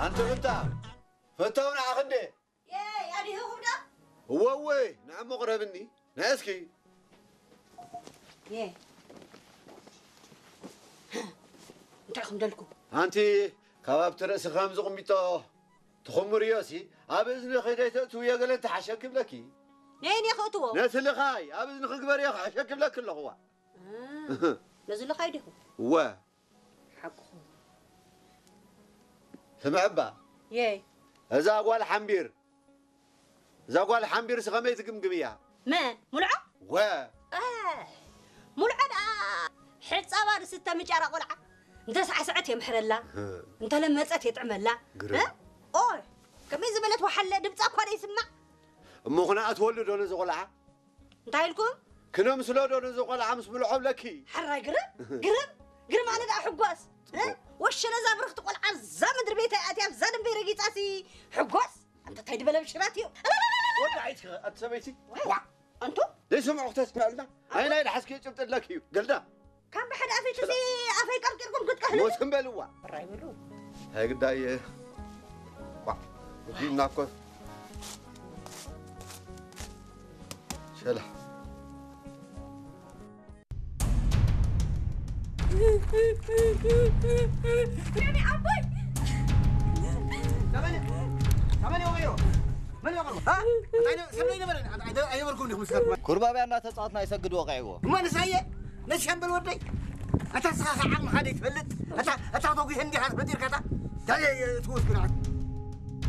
ኣንቲ ፍታ፣ ፈታው ንዓኺ እንዴ? የይ፣ ኣዲህኹም ዶ? እወ፣ እወ፣ ንዕሞ ቅረብኒ። ንዕስኪ። የይ። እንታይ ኢኹም ደልኩም? ኣንቲ ካብ ኣብቲ ርእሲ ከም ዝቕሚጦ ትኹምርዮሲ፣ ኣብ እዝንኺ ደይተእትውዮ ገለ እንተሓሸኪ ብለኪ። ነየን እየ ክእትዎ? ነቲ ልኻይ ኣብ እዝንኺ ግበርዮ ክሕሸኪ ብለኪ ኣለኹዋ። እ፣ ነዚ ልኻይ ዲኹም? እወ። ሓቅኹም። ስምዕባ። የይ። እዛ ጓል ሓምቢር፣ እዛ ጓል ሓምቢርሲ ከመይ ትግምግምያ? መን? ሙልዖ? ወ። እ፣ ሙልዖ ደኣ ሕጻባ ዝስተ ምጫራ ቆልዓ። እንተ ሳዕስዐት የምሕረላ፣ እ። እንተ ለመጸት የጥዕመላ። ግርም። እ? ኦይ፣ ከመይ ዝበለት ወሓለ ድምጻ እኳ ደይስማዕ። እሞ ኹና እትወልዶ ነዚ ቆልዓ? እንታይ ኢልኩም? ክነምስሎ ዶ ነዚ ቆልዓ ምስ ብልዖ ብለኪ? ሓራይ ግርም፣ ግርም፣ ግርም ኣነ ደኣ ሕጓስ። እ? ጽቡቕ። ወሸ ነዛ ብርኽቲ ቆልዓ እዛ ምድሪ ቤት ኣትያ ኣብዛ ደንበይ ረጊጻሲ ሕጓስ። ኣንታ እንታይ ድበለ ብሽራት እዩ። ወዳዒት ኣቲ ሰበይቲ። ዋይ። ዋ። ኣንቱ? ዘይሰምዑ ክተስምዐልና። ኣይ ናይ ደሓስኪ ጭብጢ ኣለኪ እዩ። ገልዳ። ካብ ብሓደ ኣፈይ ትዚ ኣፈይ ቀርቂርኩም ክትቀህሉ። ሞት እምበልዋ። ራይ በሉ። ሃይ ግዳይ። ዋ። እዚና እኮ። ሸላ። ኩርባብያ እናተጻወትና ይሰግድ ወቂዕዎ። እሞ ንሳየ፣ ነቲ ሻምበል ወደይ፣ ኣታ ንስኻ ኸዓ ዓቕምኻ ደይትፈልጥ፣ ኣታ፣ ኣታ ተጒሀ እንዲኻ ተፈጢርካ፣ ኣታ፣ እንታይ እየ ትወስዱ ንዓት?